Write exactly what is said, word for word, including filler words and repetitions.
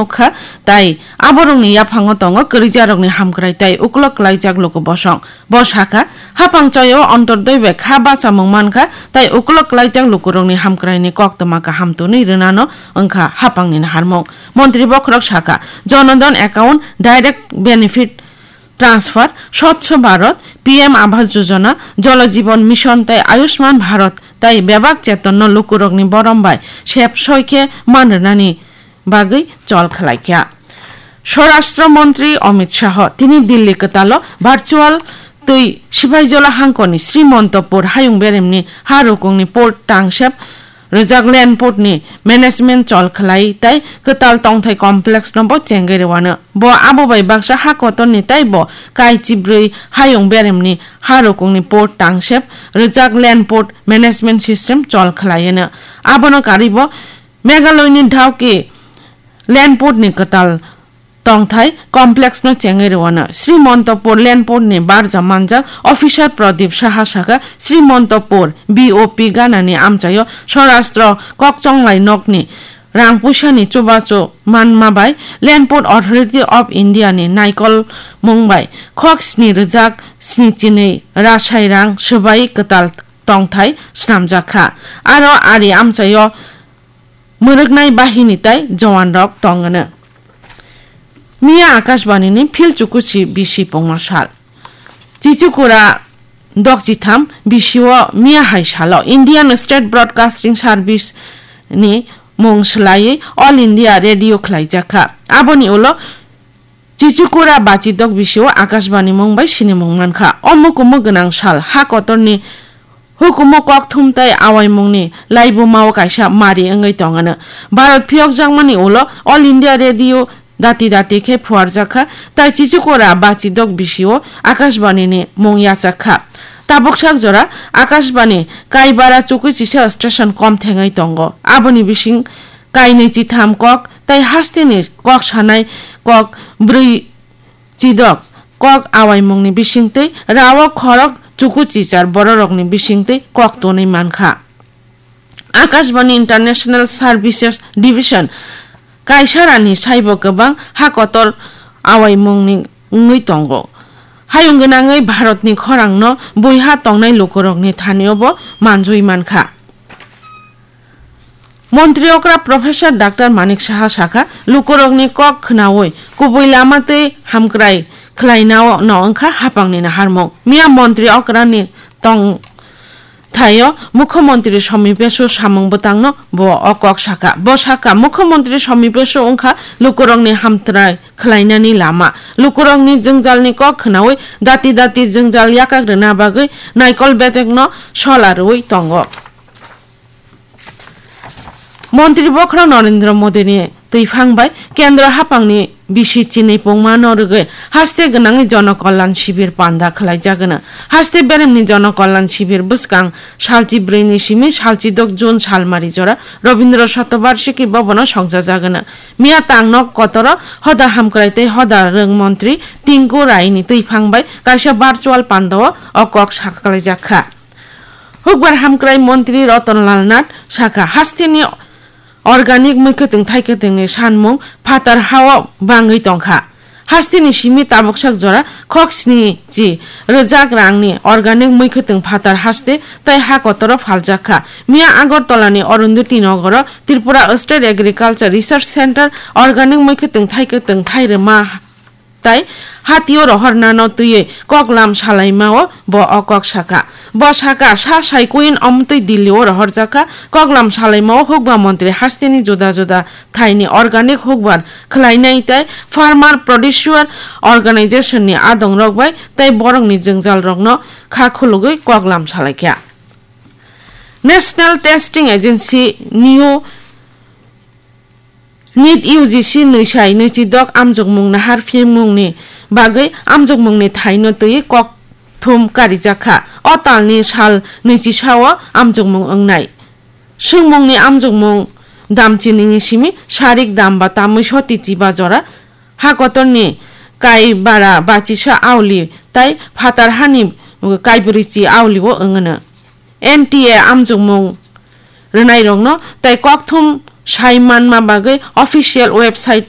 kha, tai aborokni yaphango tongo kwrwijarokni hamkrai tei uklok klaijak luku bosong. Bo sakha, hapang choyo Antyodoi bai kha bachamung mankha tei uklok klaijak lukurokni hamkraini koktwma kaham twnwi rwnano wngkha hapangni naharmung. Montri bokhorok sakha, Jan Dhan account, direct benefit transfer, Swachh Bharat, P M Awas Yojana, Jal Jeevan Mission tei Ayushman Bharat tei bebak chetonno lukurokni borom bai sep soi khe man rwnani bagwi chol khlai kha. Swarashtra Montri Amit Shah tini Delhi kwtalo virtual twi Sipaijola hangkoni Srimantapur hayung beremni ha rukungni port tangsep rwjak land port ni management chol khlai tei kwtal tongthai complex no bo chengwi rwano. Bo abo bai baksa ha kotor ni tei bo kai chibrwi hayung beremni ha rukungni port tangsep rwjak land port management system chol khlai no. Abono karwi bo Meghalaya ni Dawki land port ni kwtal tongthai complex no chengwi rwano. Srimantapur land port ni barja manjak officer Pradip Saha sakha, Srimantapur B O P ganani amchaio Swarashtra kokchonglai nokni rang puisani chubachu manma bai Land Port Authority of India ni naikolmung bai khok sni rwjak sni chinwi rasai rang swbai kwtal tongthai snamjak kha. Aro ari amchaio mwrwknai bahini tei jowan rok tongwno. Miya Akashbani ni phil chukuchi bisi pungma sal. Chichikura dokchitham bisio miya hai salo Indian State Broadcasting Service ni mung swlaiwi All India Radio khlaijak kha. Aboni ulo Chichikura bachidok bisio Akashbani mung bai sinimung mankha. O mukumu gwnang sal ha kotorni hukumu kokthum tei awaimungni laibumao kaisa mari wngwi tongano. Bharat phiyokjakmani ulo All India Radio dati dati khe phuarjak kha, tai Chichikura bachidok bisio Akashbani ni mung yachak kha. Tabuksak jora Akashbani kaibara chukui chisa station kom thengwi tongo. Aboni bising kainwi chitham kok tei hasteni kok sanai kok brwi chidok kok awaimungni bisingtwi rao khorok chuku chichar bororokni bisingtwi kok tonwi mankha. Akashbani International Services Division kaisarani saibo kwbang ha kotor awaimungni wngwi tongo. Hayung gwnangwi Bharatni khorangno buiha tongnai lukurokni thanio bo manjui mankha. Montri okra Professor Doctor Manik Saha sakha, lukurokni kok khnaui kubui lama tei hamkrai khlainao no wngkha hapangni naharmung. Miya montri okrani tong thaio Mukhyamantri Somi Pesu samung bwtangno bo o kok sakha. Bo sakha, Mukhyamantri Somi Pesu wngkha lukurokni hamkrai khlainani lama. Lukurokni jwngjalni kok khnaui dati dati jwngjal yakak rwna bagwi naikol betekno sola rwui tongo. Montri bokhorok Narendra Modini twiphang bai Kendra hapangni bisi chinwi pungmano rwgwi haste gwnangwi Jono Kalyan Shibir panda khlaijagwno. Haste beremni Jono Kalyan Shibir bwskang salchi brwini simi salchi dok June salmari jora Rabindra Shatobarshiki Bhabono songchajagwno. Miya tangno kotoro hoda hamkrai tei hoda rwng montri Tinku Raini twiphang bai kaisa virtual pandao o kok sakhlaijak kha. Hukbar hamkrai montri Ratan Lal Nath sakha, hasteni organic mwkhwtwng thaikwtwngni sanmung phatar hao bangwi tongkha. Hasteni simi tabuksak jora khok sni chi rwjak rangni organic mwkhwtwng phatar haste tei ha kotoro phaljak kha. Miya Agartala ni Arundhati Nogoro Tripura State Agriculture Research Center organic mwkhwtwng thaikwtwng thairwma tai hatio rohornano twiwi koklam salaimao bo o kok sakha. Bo sakha, sa sai kuin omtwi Delhi o rohorjakha. Koklam salaimao hukba montri hasteni juda juda thaini organic hukbar khlainai tei farmer producer organization ni adongrok bai tei borokni jwngjalrokno kha khulugwi koklam salaikha. National Testing Agency new NEET U G C nwi sai nwi chi dok amjokmung nahar phimungni bagwi amjokmungni thaino twi kokthum karijak kha. O talni sal nwi chi sao amjokmung wngnai. Swngmungni amjokmung damchinini simi sarik damba tamwi soti chiba jora ha kotorni kai bara bachisa auli tai phatar hani kaibwrwi chi auli o wngno. N T A amjokmung rwnairokno tai kokthum sai manma bagwi official website